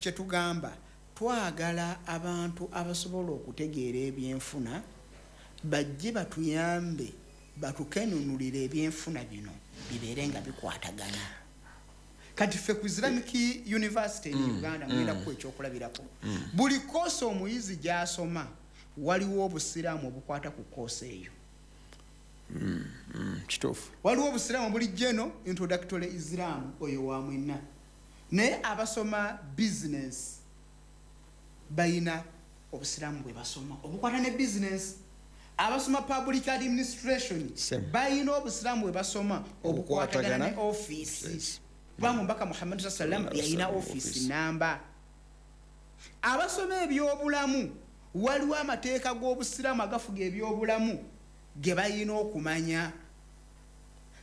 Kyetugamba, twagala abantu abasobola okutegeera ebyenfuna bajje batuyambe, batukenunulire ebyenfuna bino bibeere nga bikwatagana. Kati ffe ku Islamic University in Uganda, ngenda kuwa ekyokulabirako, buli koosi omuyizi gy'asoma waliwo obusiraamu obukwata ku koosi eyo. Kituufu. Waliwo obusiraamu buli general introductory Islam, oyo wa mwenna, naye abasoma business bayina obusiraamu bwe basoma obukwata ne business. Abasoma public administration Same. bayina obusiraamu bwe basoma obukwatagana ne Obukwatagana. office, kubanga omubaka Muhammadu sa sallam yalina Office. office namba. Abasoma ebyobulamu, waliwo amateeka g'obusiraamu agafuga ebyobulamu ge balina okumanya.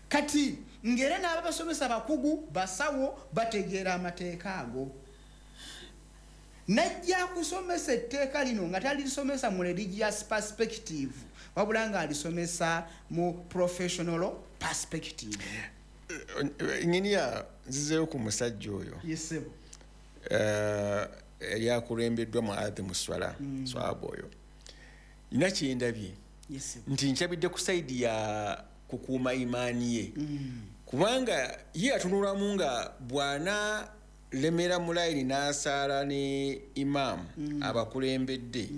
Kati ng'era n'ababasomesa bakugu, basawo, bategeera amateeka ago. Najja kusomesa etteeka lino nga talisomesa mu religious perspective, wabula ng'alisomesa mu professional perspective. Engineer, nzizeeyo ku musajja oyo. Yes, ssebo. Yali akulembeddwa mu adhi swala, swaba oyo nina kyendabye Yes, ssebo. nti nkyabidde ku side ya kukuuma imaani ye, kubanga ye atunulamu nga bwana lemera mu layini n'asaala ne imaamu abakulembedde,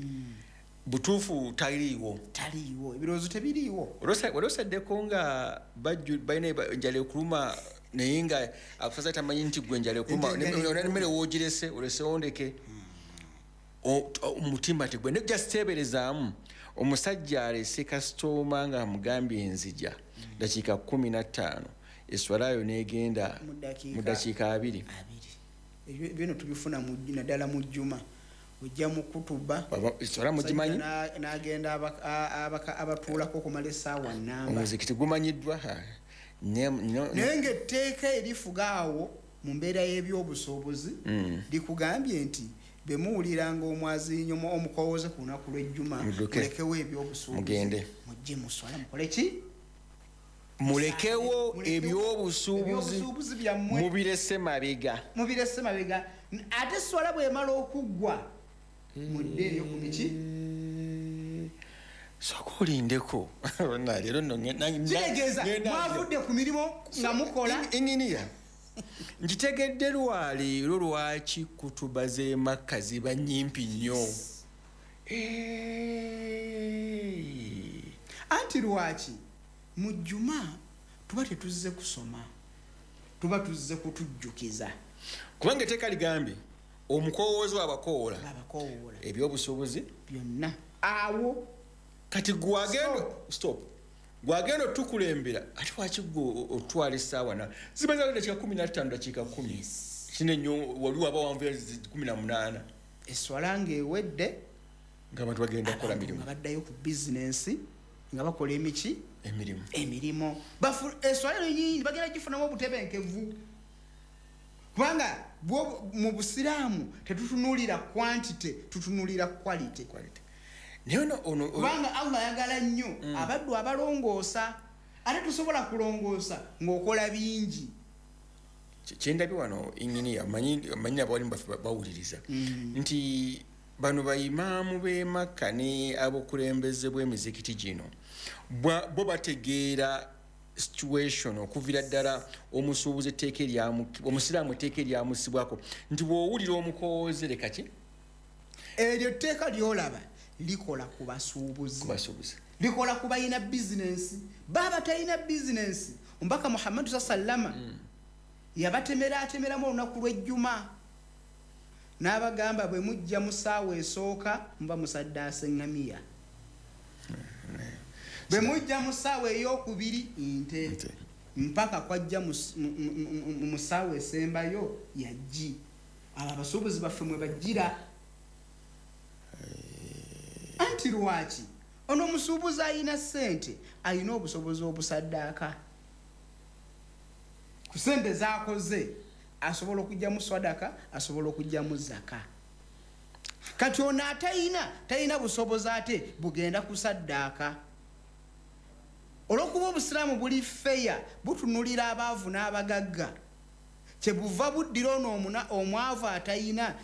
butuufu taliiwo. Taliiwo, ebirowoozo tebiriiwo. Wali osaddeko nga balina enjala ekuluma, naye nga akusaza tamanyi nti gwe enjala ekuluma. Enjala ekuluma. Emmere woogirese olesewo ndeke. Omutima tegwe ne just teeberezaamu omusajja alese kasitooma nga amugambye enzija dakiika 15, eswalayo n'egenda Mu ddakiika mu dakiika 20. 20. Ebyo bino tubifuna naddala mu jjuma, ojja mu kutuba. Eswala mugimanyi? N'agenda abatuulako okumala essaawa namba. Omuzikiti gumanyiddwa, ha. Naye ng'etteeka erifuga awo mu mbeera y'ebyobusuubuzi likugambye nti bwe muwuliranga omwazinyo omukowooze ku lunaku lw'ejjuma, Mudduke. mulekewo ebyobusuubuzi, Mugende. mujje muswala, mukole ki? Mulekewo Mulekewo ebyobusuubuzi. ebyobusuubuzi byammwe. Mubirese mabega. Mubirese mabega. Ate swala bw'emala okuggwa, muddeeyo ku biki? Sooka olindeko. Bonna, leero nno Kitegeeza ngenda mwavudde ku mirimu nga mukola. Engineer, nkitegedde lwaleero lwaki kutuba z'e Makka ziba nnyimpi nnyo. Anti lwaki mu jjuma tuba tetuzze kusoma, tuba tuzze kutujjukiza. Kubanga etteeka ligambye omukowoozi abakowoola Abakowoola. ebyobusuubuzi byonna awo. Kati gwagenda, stop, gwagenda otukulembera, ate waki gwe otwala essaawa na ziba za dakiika 15, dakiika 10 kine nnyo, wali waba wanvuya 18. Eswala ng'ewedde, ng'abantu bagenda kukola abantu mirimu. nga baddayo ku bizinensi nga bakola emiki? Emirimu. Emirimu. Eswala eno nyingi bagenda gifunamu obutebenkevu, kubanga mu busiraamu tetutunuulira quantity, tutunuulira quality. Quality. Naye ono Kubanga Allah ayagala nnyo abaddu abalongoosa, ate tusobola kulongoosa ng'okola bingi. Kyendabye wano, engineer, manyi abawalimu baffe bawuliriza nti bano bayimaamu b'e Makka ne abakulembeze bw'emizikiti gino bo bategeera situation okuviira ddala omusuubuzi etteeka omusiraamu etteeka eryamusibwako nti bw'owulira omukowooze leka ki? Eryo tteeka lyolaba likola ku basuubuzi. Ku basuubuzi. Likola ku balina bizinensi. Baba talina bizinensi, omubaka Muhammadu sa sallama yabatemera atemeramu olunaku lw'ejjuma n'abagamba, bwe mujja mu ssaawa esooka muba musaddaasa eŋŋamiya, bwe mujja mu ssaawa ey'okubiri nte, Nte. mpaka kwajja mu ssaawa esembayo yajji. Abo abasuubuzi baffe mwe bajjira. Anti lwaki ono omusuubuzi alina ssente, alina obusobozi obusaddaaka ku ssente zakoze, asobola okugyamu swadaka, asobola okugyamu zaka. Kati ono atayina, talina busobozi ate bugenda kusaddaaka. Olwokuba obusiraamu buli feya, butunulira abaavu n'abagagga. Kyebuva buddira ono omwavu atayina.